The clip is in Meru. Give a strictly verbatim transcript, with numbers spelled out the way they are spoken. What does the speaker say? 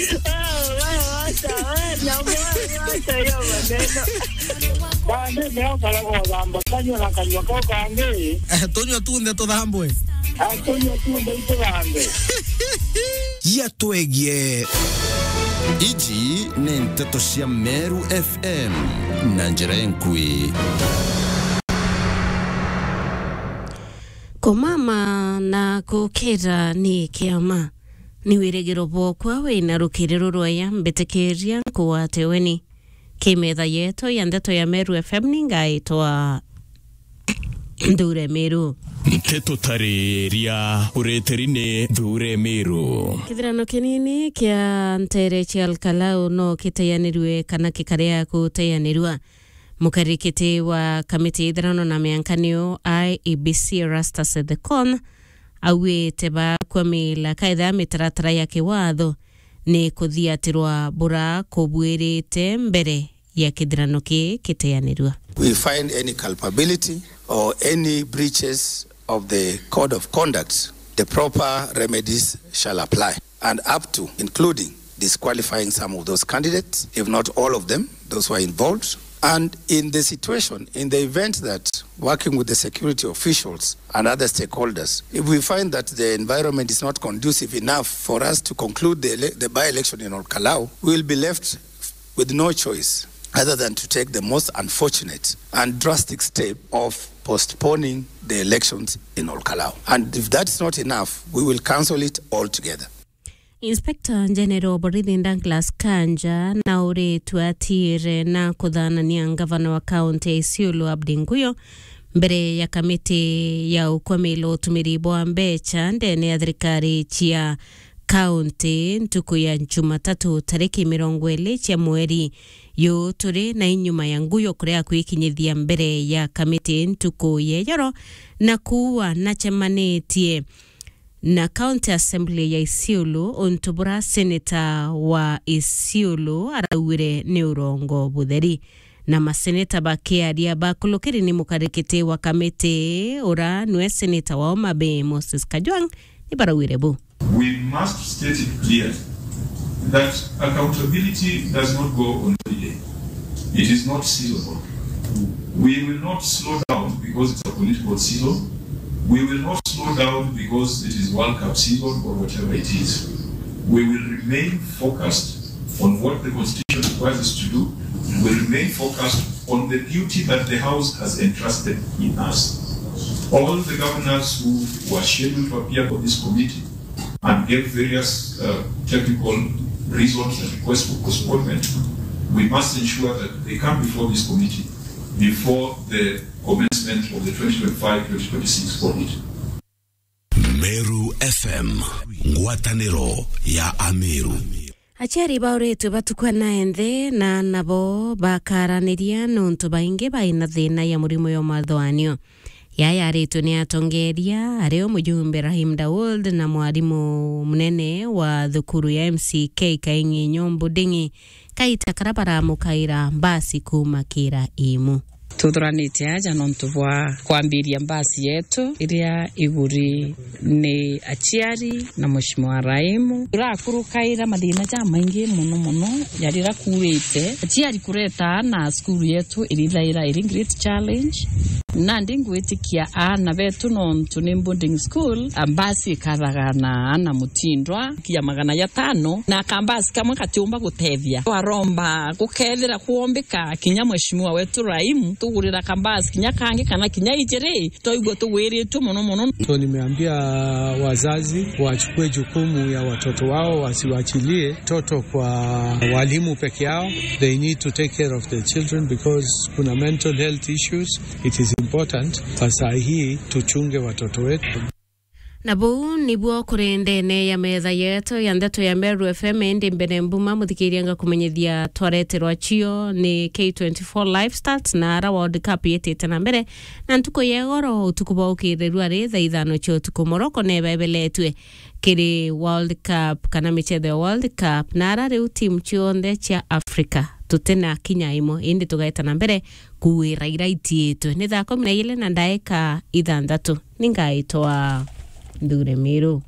Wewe, wewe, wacha, wewe, wacha hiyo maneno. Bande, leo karaga uthamba kanyua na kanyua kau kangi. Eh, tunyua tunthe tuthambwe. Ah, tunyua tunthe ituthambwe. Yatwegie. Iji ni nteto cia Meru F M na njira enkui. Kumama na gukira ni kiama. Ni wirigiro bwokwa wina rukiri rurwaya mbitikiria nkugwate weni. Kimetha yetu ya ndeto ya Meru F M ni ngaitwa Nthure Miru. Nteto tariria ureteri ni Nthure Miru. Kithirano kinini kia ntere cia Alkalau no kiteyanirue kana kikaria kuteyanirua. Mukarikiti wa kamiti ya ithirano na miankanio I E B C Erastus Ethekon auite bakwamila kaitha mitaratara ya kiwatho ni kuthiatirwa bura kubuirite mbere ya kithirano kii kiteanirua. We find any culpability or any breaches of the code of conduct, the proper remedies shall apply, and up to, including disqualifying some of those candidates, if not all of them, those who are involved. And in the situation, in the event that working with the security officials and other stakeholders, if we find that the environment is not conducive enough for us to conclude the ele-, the by-election in Olkalau, we will be left with no choice other than to take the most unfortunate and drastic step of postponing the elections in Olkalau. And if that's not enough, we will cancel it altogether. Inspector General wa borithi Douglas Kanja na uritwe atiire na kuthanania ngavana wa kaunti ya Isiolo Abdi Nguyo mbere ya kamiti ya ukwamila utumiri bwa mbecha ndene ya thirikari cia kaunti ntuku ya Jumatatu tariki mirongo iri cia mweri yu turi na inyuma ya Nguyo kuria kwikinyithia mbere ya kamiti ntuku ya ijoro na kuua nachemanitie na County Assembly ya Isiolo, untu bura seneta wa Isiolo araugire ni urongo butheri. Na maseneta bakiaria bakulukiri ni mukarikiti wa kamiti ura nwe seneta wa Homa Bay, Moses Kajwang', ni baraugire bu. We must state it clearly that accountability does not go on holiday. It is not seasonal. We will not slow down because it's a political season. We will not slow down because it is World Cup season or whatever it is. We will remain focused on what the Constitution requires us to do. We will remain focused on the duty that the House has entrusted in us. All the governors who were scheduled to appear for this committee and gave various, uh, technical reasons and requests for postponement, we must ensure that they come before this committee before the commencement of the twenty twenty-five twenty twenty-six audit. Meru F M, ngwataniro ya Ameru. Aciari bauritwe batukwa na enthe na nabo bakaraniria nontu baingi baina thina ya murimo ya umathoanio. Yaya aritwe ni atongeria, ari o mujumbe Rahim Dawood na mwarimu munene wa thukuru ya M C K Kaing'inyo Mbuding'i, kaita kara baramukaira mbasi kuuma kira imu. Tuthuranite aja nontu bwa kwambiria mbasi yetu iria iguri ni aciari na Mheshimiwa Raimu. Turakurukaira mathina jamaingi mono mono jarira kuurite aciari kureta aana cukuru yetu irithaira iri great challenge. Nandi ngwitikia aana betu nontu ni boarding school, a, mbasi ikathaga na aana mutindwa kia magana jatano, na kambasi kamwe katiumba gutethia. Twaromba gukethira kwombika kinya Mheshimiwa wetu Raimu, tugurira kambasi kinya kangi kana kinya ijiri, twaigua tugwiritue mono mono. So nimeambia wazazi wachukue jukumu ya watoto wao, wasiwachilie toto kwa walimu peke yao. They need to take care of the children because kuna mental health issues. It is important saa hii tuchunge watoto wetu. Na buu nibuo kuri ndene ya metha yetu ya ndeto ya Meru F M, indi mbere mbuma muthikiria ngakumenyithia twareterwa cio ni K twenty-four Live Stats na ara World Cup yitite na mbere. Na ntuku ya igoro, utuku bwa ukirirua ri thaa ithano cia utuku, Morocco neba ibeletue kiri World Cup kana michetho ya World Cup, na ara riu timu cionthe cia Africa tutina kinya imwe, indi tugaeta na mbere kuwira ira itiitwe. Ni thaa kumi na ijiri na ndaika ithanthatu. Ni ngaitwa Nthure Miru.